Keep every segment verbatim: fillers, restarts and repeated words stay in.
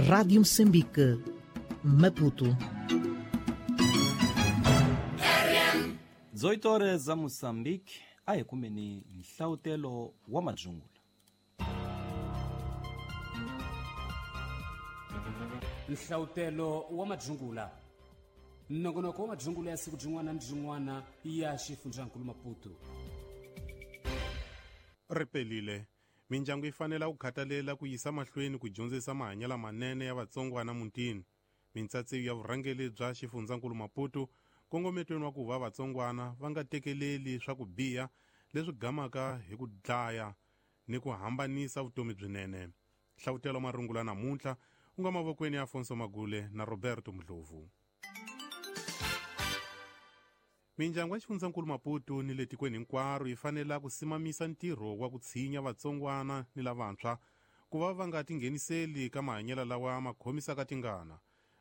Rádio Moçambique, Maputo. dezoito horas za Moçambique, a hi kumeni nhlavutelo wa madzungula. Nhlavutelo wa madzungula. Nongonoko wa madzungula ya siku byin'wana ni byin'wana ya xifundzankulu Maputo. Ripelile. Mindyangu yi fanele ku khathalela ku yisa mahlweni ku dyondzisa mahanyelo lamanene ya vatsongwana mutini. Mintsatsiyo ya vurhangeri bya xifundzankulu Maputo kongometweni wa ku va vatsongwana va nga tekeleli swa ku biha leswi gamaka hi ku dlaya ni ku hambanisa vutomi byinene. Hlavutelo marungula namuntlha u nga mavokweni ya Afonso Magule na Roberto Mdlovu. Mindyangu ya xifundzankulu Maputo ni le tikweni hinkwaro yi fanele ku simamisa ntirho wa ku tshinya vatsongwana ni lavantshwa ku va va nga tingheniseli ka mahanyelo lawa ma khomisaka tingana.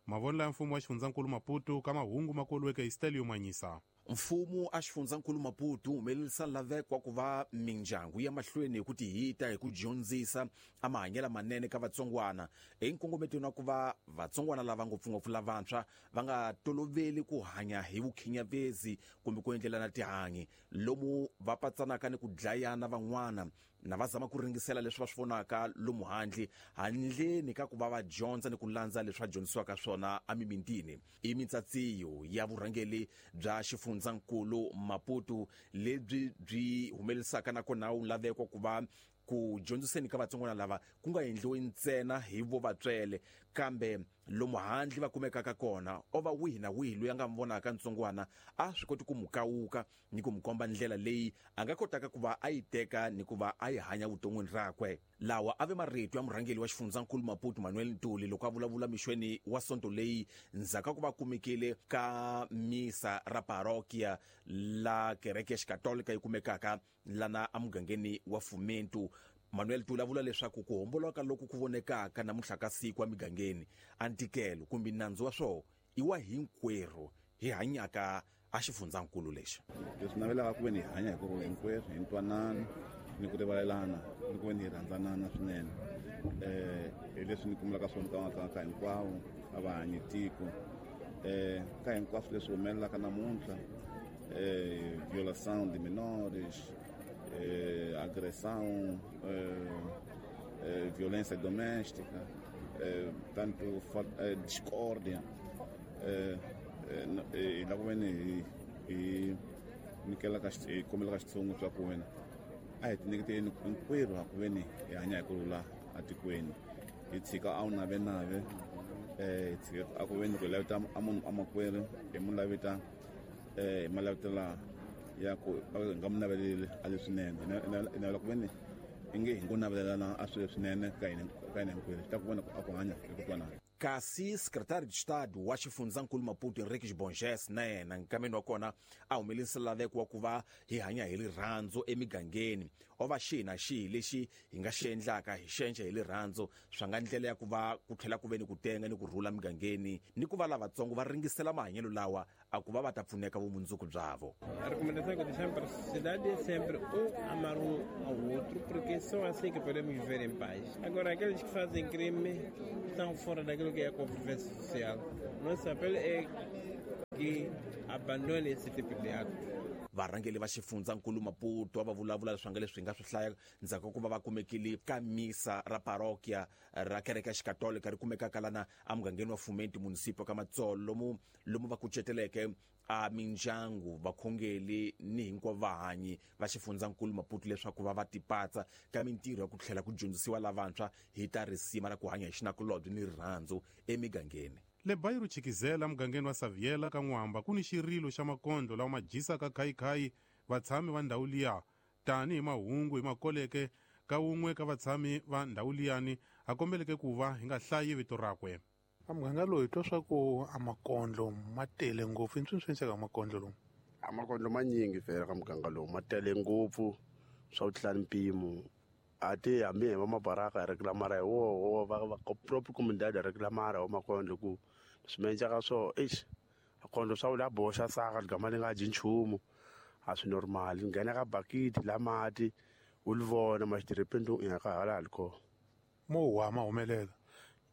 Mavonelo ya mfumo wa xifundzankulu Maputo ka mahungu ma koliweke hi Stelio Manyisa. Mfumo a xifundzankulu Maputo wu humelerisa laveko wa ku va mindyangu ya mahlweni hi ku tihita hi ku dyondzisa a mahanyelo manene ka vatsongwana hi nkongometweni wa ku va vatsongwana lava ngopfungopfu lavantshwa va nga toloveli ku hanya hi vukhinyavezi kumbe ku endlelana tihanyi lomu va patsanaka ni ku dlayana van'wana na va zama ku ringisela leswi va swi vonaka lomu handle handleni ka ku va va dyondza ni ku landza leswi va dyondzisiwaka swona emimitini. I mintsatsiyo ya vurhangeri bya xifundzankulu Maputo lebyi byi humelerisaka nakona wu laveko ku va ku dyondziseni ka vatsongwana lava ku nga endliwi ntsena hi vo vatswele kambe lomu handle va kumekaka kona o va wihi na wihi loyi a nga vonaka ntsongwana a swi koti ku mu kawuka ni ku mu komba ndlela leyi a nga kotaka ku va a yi teka ni ku va a yi hanya vuton'wini rakwe. Lawa a ve marito ya murhangeri wa xifundzankulu Maputo Manuel Ntuli loko a vulavula mixweni wa sonto leyi ndzhaku ka ku va kumekile ka misa ra parokia la kereke ya xikatolika yi kumekaka lana emugangeni wa Fumento. Manuel Ntuli a vula leswaku ku homboloka loku ku vonekaka namuntlha ka siku emigangeni a ntikelo kumbe nandzu wa swona i wa hinkwerhu hi hanyaka a xifundzankulu lexi. Leswi navelaka ku ve ni hi hanya hi ku hinkwerhu hi ntwanano ni ku rivalelana ni ku ve ni hi rhandzanana swinene. um hi leswi ni kumelaka swona ka ka ka hinkwavo a va hanyi tiko um ka hinkwaswo leswi humelelaka namuntlha um violação de menores, eh, agressão, eh, eh, violência doméstica, eh, tanto eh, discórdia, eh, eh, la ku ve ni hi hi nyikelaka hi kombelaka xitshungu swa ku wena a hi tinyiketeni hinkwerhu a ku ve ni hi hanya hi ku rhula atikweni hi tshika a wu navenave eh hi tshika a ku ve ni ku hi lavita a munhu a makwerhu hi mu lavita eh hi ma lavitela ya ku hi nga mu naveleli a leswinene hi navela ku ve ni i nge hi ngo navelelana a swilo leswinene ka hina ka hina hinkwerhu swi ta ku vona a ku hanya hi ku twanana. Kasi secretário de Estado wa xifundzankulu Maputo Henriques Bonges na yena nkameni wa kona a humelerisa laveko wa ku va hi hanya hi rirhandzu emigangeni o va xihi na xihi lexi hi nga xi endlaka hi xenxe hi rirhandzu swa nga ndlela ya ku va ku tlhela ku ve ni ku tenga ni ku rhula migangeni ni ku va lavatsongo va ringisela mahanyelo lawa a ku va va ta pfuneka vumundzuku byavo. A recomendação que deixamos para a sociedade é sempre um amar um ao outro, porque só assim que podemos viver em paz. Agora, aqueles que fazem crime estão fora daquilo que é a convivência social. Nosso apelo é que abandone esse tipo de ato. Varhangeri va xifundzankulu Maputo va vulavula leswi nga leswi hi nga swi hlaya ndzhaku ka ku va va kumekile ka misa ra parokia ra kereke ya xikatolika ri kumekaka lana emugangeni wa Fumento municipio ka Matsolo lomu lomu va kuceteleke a mindyangu vakhongeli ni hinkwavo vahanyi va xifundzankulu Maputo leswaku va va tipatsa ka mintirho ya ku tlhela ku dyondzisiwa lavantshwa hi ta risima ra ku hanya hi xinakulobye ni rirhandzu emigangeni. Le Bairro Chikizela mugangeni wa Saviela ka N'wamba ku ni xirilo xa makondlo lawa ma dyisaka khayikhayi vatshami va ndhawu liya tanihi mahungu hi makoleke ka wun'we ka vatshami va ndhawu liyani a kombeleke ku va hi nga hlayi vito rakwe. A muganga lowu hi twa swa ku a makondlo ma tele ngopfu i nswi swi endleka makondlo lowu. A makondlo manyingi vhele ka muganga lowu ma tele ngopfu swa ku tlula mpimo a ti hambi hi va mabaraka hi reklamara hi woho va va propre comunidade hi reklamara wa makondlo ku swi mendleka swo eish akondlo swa la boxa saka ligama li nga dyi nchumu a swi normal nghena ka bakiti la mati u li vona ma xitiripeni i nga ka hala hala kona mo wa ma humelela.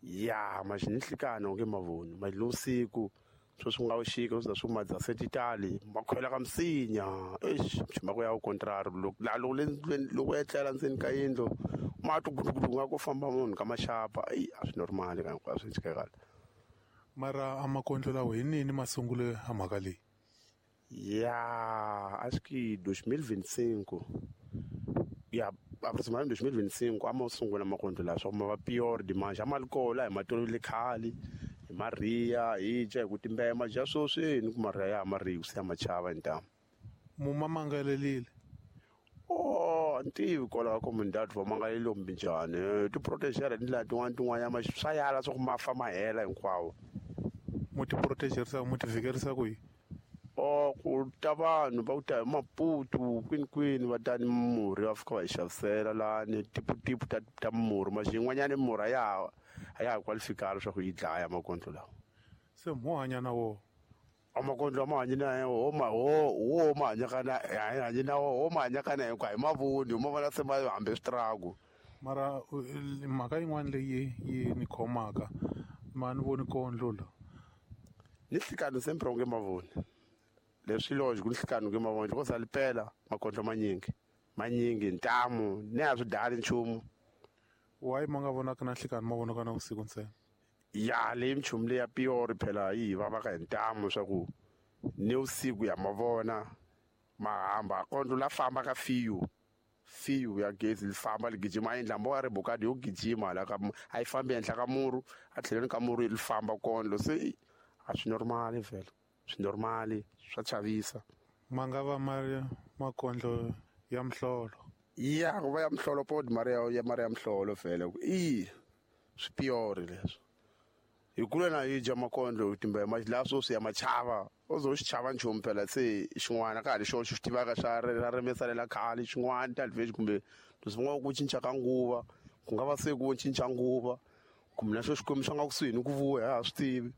Ya ma xi ni nhlikani onge mavoni ma lusiku swo swi nga wuxika swi za swi madza se titali ma khwela ka misinya eish mhaka ya contrary loko la loko le loko etlela ndzeni ka yindlu ma twa gudugudu nga ku famba munhu ka maxapa ai a swi normal ka hinkwaswo swi kahle. Mara a makondlo lawa hi nini masungulo ya mhaka leyi? Ya acho que dois mil e vinte e cinco ya aproximadamente dois mil e vinte e cinco a ma sungula makondlo lawa swa ma va pior dimanche a ma ri kona hi matolovele khale hi mariya hi dya hi ku timbema dya sweswi ni ku mariya ya mariya se ya machava hi ntamu. Muma mangalelile? Oh a ni tivi kwalaho ka comunidade va mangalelile kumbe njhani ti protegera hi tindlela tin'wana tin'wanyana swa yala swa ku ma fa ma hela hinkwawo. Mu ti protegerisa mu ti vhikerisa ku yini? Oh ku ta vanhu va ku ta hi Maputo kwini kwini va ta ni murhi va fika va hi xavisela lani tiputipu ta ta murhi ma xin'wanyana murhi a ya a ya ha qualifikali leswaku yi dlaya makondlo lawa. Se mo hanya na wona? A makondlo ma hanyi na wo ma wo wo ma hanyaka na hanyi na wo ma hanyaka na hinkwayo hi mavoni ma vona se ma hambe switrago. Mara mhaka yin'wana leyi yi ni khomaka ma ni voni kondlo la ni nhlikani sempre onge mavoni leswi logic ni nhlikani onge mavoni loko za lipela makondlo manyingi manyingi ntamu ni a swi dali nchumu. Why ma nga vonaka na nhlikani ma vonaka na vusiku ntsena? Ya leyi minchumu leyi ya piori phela yi hi vavaka hi ntamu swa ku ni vusiku ya mavona ma hamba kondlo la famba ka fiyu fiyu ya gezi li famba li gijima a endla mbo ya ri bokadi yo gijima la ka a yi fambi henhla ka muru a tlhelweni ka muru li famba kondlo se a swi normali vhele swi normali swa chavisa. Ma nga va ma ri makondlo ya mihlolo? Ya ku va ya mihlolo pod mara ya mara ya mihlolo vhele i swi piori leswi hi kule na hi dya makondlo timbema la sweswi ya machava u zo xi chava nchumu phela se xin'wana ka ha ri xona xi tivaka xa ra rimesalela khale xin'wana talvage kumbe leswi nga ku cinca ka nguva ku nga va se ku cinca nguva kumbe na xo xikwembu xa nga kusuhi ni ku vuya a swi tivi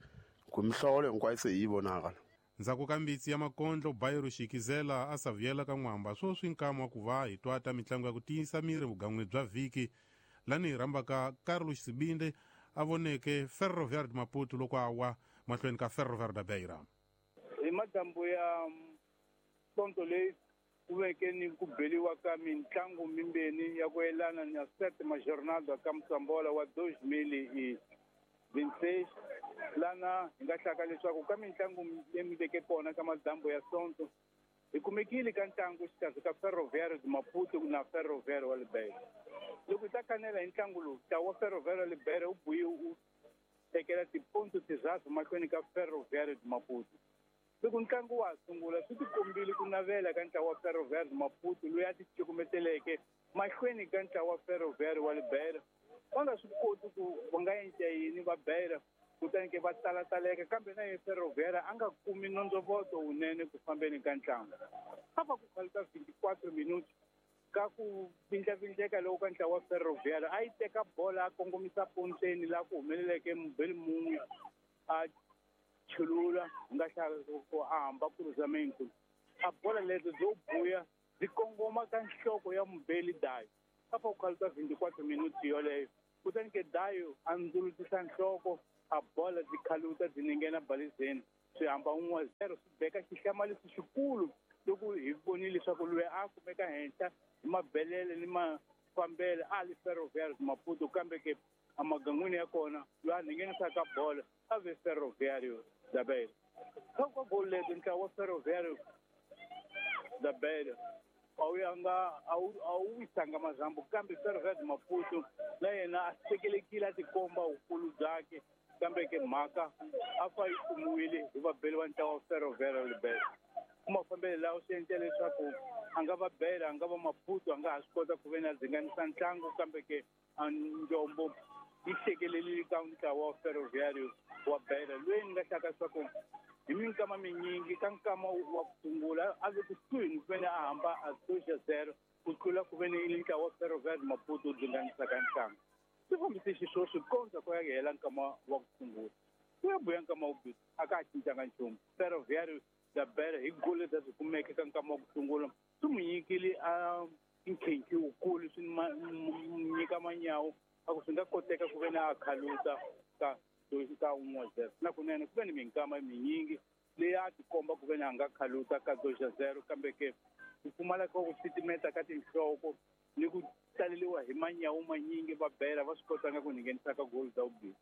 ku mihlolo hinkwayo se hi yi vonaka. Ndzhaku ka mbitsi ya makondlo Bayero Xikizela a savuyela ka N'wamba sweswi nkama wa ku va hi twa ta mitlangu ya ku tiyisa miri vugan'wini bya vhiki lani hi rhambaka Carlos Sibinde a voneke Ferroviário de Maputo loko a wa mahlweni ka Ferroviário da Beira. Hi madyambu ya sonto leyi ku veke ni ku beliwa ka mitlangu mimbeni ya ku yelana na sétima jornada ka Mutsambola wa dois mil e vinte e seis lana hi nga hlaka leswaku ka mitlangu leyi veke kona ka madyambu ya sonto hi kumekile ka ntlangu xikarhi ka Ferroviário de Maputo na Ferroviário wa Beira. Loko hi ta kanela hi ntlangu lowu ntlawa wa Ferroviário wa Beira wu buye wu tekela tiponto tinharhu mahlweni ka Ferroviário de Maputo. Loko ntlangu wa ha sungula swi tikombile ku navela ka ntlawa wa Ferroviário de Maputo loyi a ti cukumeteleke mahlweni ka ntlawa wa Ferroviário wa Beira. Va nga swi koti ku va nga endla yini va Beira kutani ke va talataleka kambe na ye Ferroviário a nga kumi nondzovoto wunene ku fambeni ka ntlangu. A va ku khaluka vinte e quatro minutos ka ku vindlavindleka loko ka ntlawa wa Ferroviário a yi teka bola a kongomisa ponteni laha ku humeleleke mubeli mun'we a chulula hi nga hlaya ku a hamba cruzamento a bola leto byo buya byi kongoma ka nhloko ya mubeli Dayo a fa ku khaluka vinte e quatro minutos yoleyo kutani ke Dayo a ndzulutisa nhloko a bola byi khaluta byi ninghena balizeni swi hamba un'we zero swi beka xihlamariso xikulu loko hi vonile leswaku loyi a kumeka henhla hi mabelele ni mafambele a li Ferroviário de Maputo kambe ke emagangwini ya kona loyi a nghenisaka bola a ve Ferroviário da Beira. Ka ka golo leti ntlawa wa Ferroviário da Beira a wu yanga a wu a wu wisanga mazambu kambe Ferroviário de Maputo na yena a sekelekile a tikomba vukulu byakhe kambe ke mhaka a fa yi kumiwile hi vabeli va ntlawa wa Ferroviário da Beira. Ku mafambelo lawa swi endla leswaku a nga va Beira a nga va Maputo a nga ha swi kota ku ve na dzinganisa ntlangu kambe ke a njombo yi hlekelelile ka ntlawa wa Ferroviário wa Beira loyi ni nga hlaka leswaku hi minkama minyingi ka nkama wa ku sungula a ve kusuhi ni ku ve ni a hamba a dois a zero ku tlula ku ve ni ntlawa wa Ferroviário de Maputo wu dzinganisaka ntlangu. Swi fambise xisweswo kondza ku ya hela nkama wa ku sungula. Ku ya buya nkama wa vumbirhi a ka ha cincanga nchumu. Ferroviário da Beira hi golo leti a byi kumeke ka nkama wa ku sungula swi n'wi nyikile a nkhinkhi wukulu swi nyika manyawu A ku swi nga koteka ku ve na a khaluta ka ka un'we zero na kunene ku ve ni minkama minyingi leyi a tikomba ku ve ni a nga khaluta ka dois a zero kambe ke ku pfumala ka ku titimeta ka tinhloko ni ku taleliwa hi manyawu manyingi va bela va swi kotanga ku nghenisa ka goli ta vumbirhi.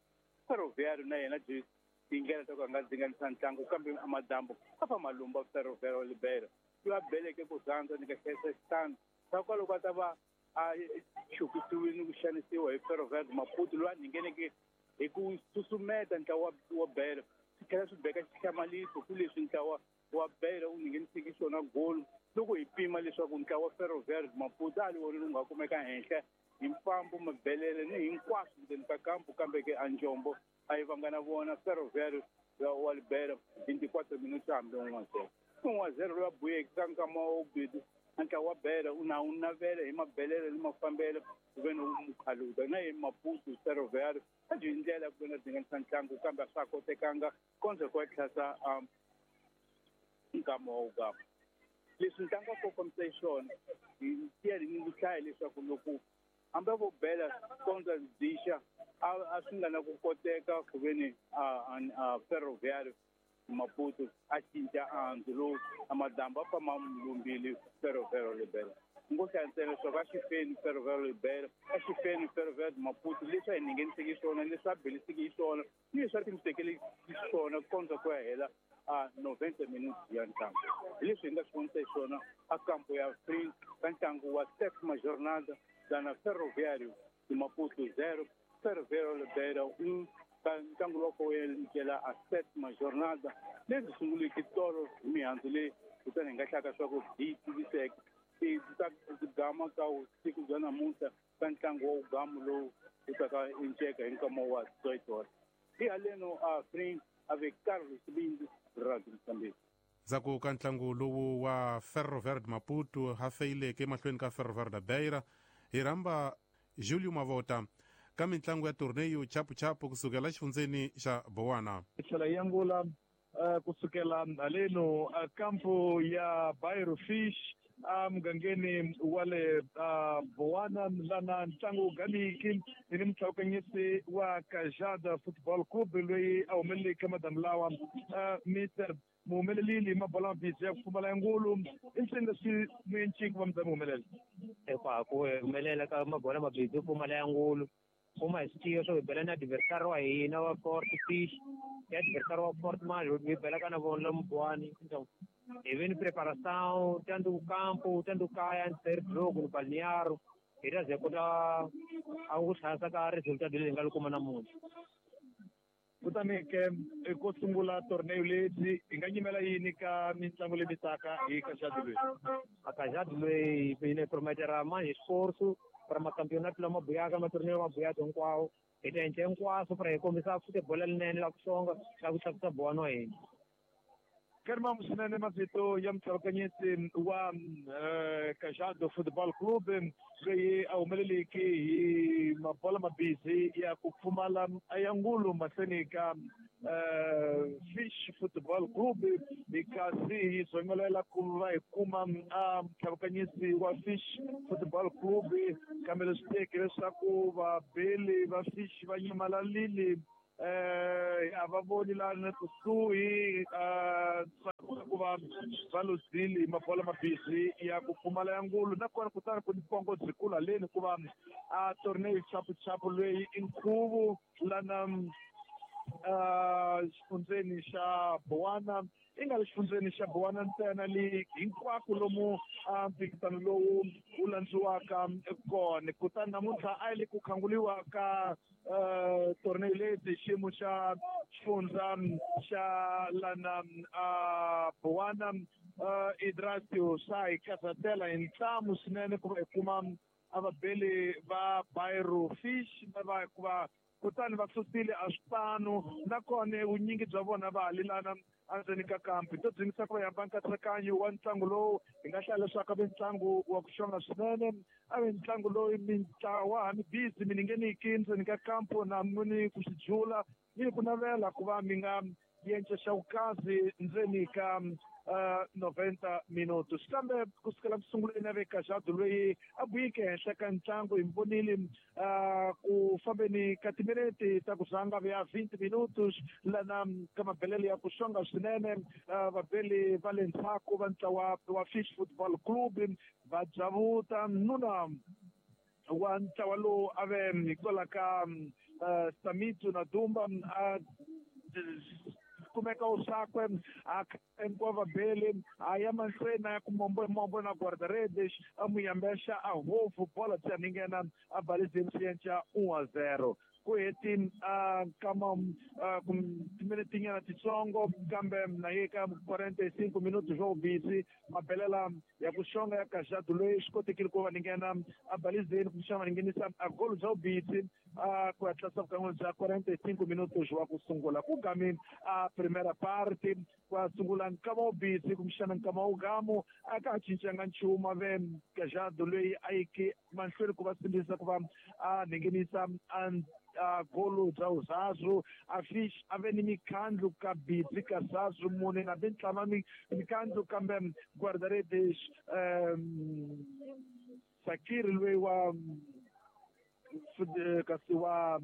Ferroviário na yena byi tindlela ta ku a nga dzinganisa ntlangu kambe amadambu a fa malumba Ferroviário Libera loyi a beleke ku rhandza ni ka hlayisa xitandi swa kwaloko a ta va a chukisiwile ni ku xanisiwa hi Ferroviário Maputo loyi a ngheneke hi ku susumeta ntlawa wa bela swi tlhela swi beka xihlamaliso ku leswi ntlawa wa bela wu ngheniseke xona golo loko hi pima leswaku ntlawa wa Ferroviário Maputo a li wona lowu nga kumeka henhla hi mfambo mabelele ni hinkwaswo ndzeni ka kampu kambe ke a njombo a yi vanga na vona Ferroviário wa Libera vinte e quatro minutos hambi un'we a zero un'we a zero loyi a buyeke ka nkama wa vumbirhi ntlawa wa bela u na wu navela hi mabelele ni mafambelo ku ve ni wu mukhaluta na hi Maputo Ferroviário a byi hi ndlela ku ve na dzinganisa ntlangu kambe a swa ha kotekanga kondza ku ya tlhasa nkama wa wugama. Leswi ntlangu wa kombisa hi swona hi tiya ni ku hlaya leswaku loko hambi vo bela kondza dixa a swi nga na ku koteka ku ve ni a Ferroviário Maputo a cinca andzu lowu a madambu a famba lumbili Ferroviário Libera ngo hlaya ntsena leswaku a xi feni Ferroviário Libera a xi feni Ferroviário Maputo leswi a hi ngheniseki swona leswi a beliseki hi swona ni leswi a timisekele swona kondza ku ya hela a noventa minutos ya ntlangu. Hi leswi hi nga swi vonisa hi swona a kampo ya free ka ntlangu wa sétima jornada na Ferroviário de Maputo zero Ferroviário Libera um ka ntlangu lowu ko endlela a sétima jornada lebyi sunguleke tolo hi mihandzu leyi kutani hi nga hlaka swa ku hi tiviseke ta gama ka siku bya namuntlha ka ntlangu wa wugamu lowu wu taka enceka hi nkama wa dezoito. Hi haleno a free ave Carlos Bindi Radio Mozambique. Ndzhaku ka ntlangu lowu wa Ferroviário de Maputo ha feyileke emahlweni ka Ferroviário da Beira hi rhamba Julio Mavota ka mitlangu ya torneio chapuchapu kusukela xifundzeni xa Bowana. Hi tlhela hi angula kusukela haleno kampo ya Bairro Fish emugangeni wa le Bowana lana ntlangu wu gamiki hi ni mutlhawukanyisi wa Kajada Football Club loyi a humeleleke madamu lawa Mister muhumelelile hi mabola mabisi ya ku pfumala ya ngulu i nsini leswi muenciki va mi humelela hikwalaho ku humelela ka mabola mabisi yo pfumala ya ngulu kuma hi swi tiva swo hi bela na adversary wa hina wa Fort Fish ya adversary wa Fort manje hi belaka na vona lomu Buwani. Então hi ve ni preparação tanto campo tanto kaya antes do jogo no balneário hi ta ze kota a ku hlayisa ka resultado leyi hi nga yi kuma namuntlha. Kutani ke ko sungula torneo lebyi hi nga nyimela yini ka mitlangu leyi mitaka hi Kajadi loyi? A Kajadi loyi hi ne prometera manje esforço para macampeonato lama buyaka matorneo lama buyaka hinkwawo hi ta endla hinkwaswo para hi kombisa futebol lerinene la ku xonga la ku tlakusa Bowana wa hina. Karimamu swinene mavito ya mutlhawukanyisi wa Kajado Football Club loyi a humeleleke hi mabola mabisi ya ku pfumala ya ngulu mahlweni ka Fish Football Club hi kasi hi zongelela ku va hi kuma mutlhawukanyisi wa Fish Football Club kambe leswi teke leswaku vabeli va Fish va nyamalalile a va voni lana kusuhi ku va va luzile mabola mabisi ya ku pfumala ya ngulu nakona kutani ku ni pongo byikulu haleni ku va a torneo chapuchapu loyi i nkhuvo lana xifundzeni xa Bowana i nga le xifundzeni xa Bowana ntsena le hinkwako lomu mphikizano lowu wu landziwaka kona. Kutani namuntlha a yi le ku khanguliwa ka torneo leti xiyimo xa xifundza xa lana Bowana Idrasio swa hi karhatela hi ntlamu swinene ku va hi kuma a vabeli va Bairro Fish lava hikuva kutani va susile a swipano nakona vunyingi bya vona va halelana endzeni ka kampi to dzingisa ku va hamba nkatsakanyo wa ntlangu lowu hi nga hlaya leswaku a ve ntlangu wa ku xonga swinene a ve ntlangu lowu mintlawa mi busy mi ningeniki ndzeni ka kampo na muni ku swi jula ni ku navela ku va mi nga yenca xa vukazi ndzeni ka Uh, noventa minutos kambe kusukela kusunguleni ave Cajado loyi a buyike henhla ka ntlangu hi vonile uh, ku fambeni ka timinete ta ku zanga ya vinte minutos lana ka mabelelo ya ku xonga swinene uh, vabeli va le ndzhaku va ntlawa wa Fish Football Club va dzavuta nuna wa ntlawa lowu a ve hikwalaho ka uh, Samitu na Dumba a kumeka usakwe a hinkwavo vabeli a ya mahlweni a ya ku mombo mombo na guarda-redes a muyambexa a hofu bola bya ninghena a balizeni swi endla um a zero ku heti a kama timinetinyana titsongo kambe na ye ka quarenta e cinco minutos swo busy mabelela ya ku xonga ya Cajado loyi swi kotekile ku va ninghena a balizeni kumbexana va ninghenisa a golo bya vubisi a ku hatlisa vukan'we bya quarenta e cinco minutos wa ku sungula ku gami a primeira parte kwa sungula nkama wubisi kumbexana nkama wugamu a ka ha cincanga nchumu a ve Cajado loyi a yike mahlweni ku va simbisa ku va a ninghenisa a a golo bya uzazu a Fish a ve ni mikhandlu ka bidzi ka zazu mune na bintlama mikhandlu kambe guarda-redes um, Sakir loyi wa kasi wa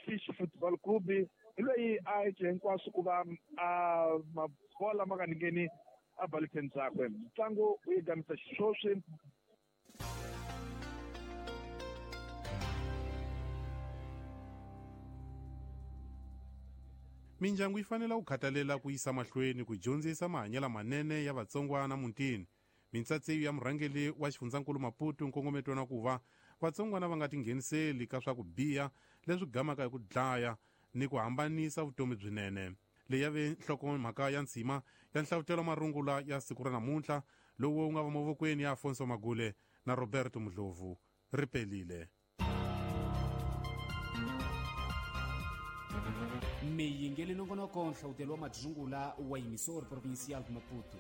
Fish Football Club hi loyi a yece hinkwaswo ku va a mabola ma nga ningheni a baliseni byakwe ntlangu wu yi gamisa xiswoswi. Mindyangu yi fanele ku khathalela ku yisa mahlweni ku dyondzisa mahanyelo manene ya vatsongwana mutini. Mintsatsiyo ya murhangeri wa xifundzankulu Maputo nkongometo na ku va vatsongwana va nga tingheniseli ka swa ku biha leswi gamaka hi ku dlaya ni ku hambanisa vutomi byinene. Leyi ya ve nhlokomhaka ya ntshima ya nhlavutelo marungula ya siku ra namuntlha lowu wu nga va mavokweni ya Afonso Magule na Roberto Mudlovu. Ri pelile. Miyingeli nongonoko nhlavutelo wa madzungula wa Emissora Provincial de Maputo.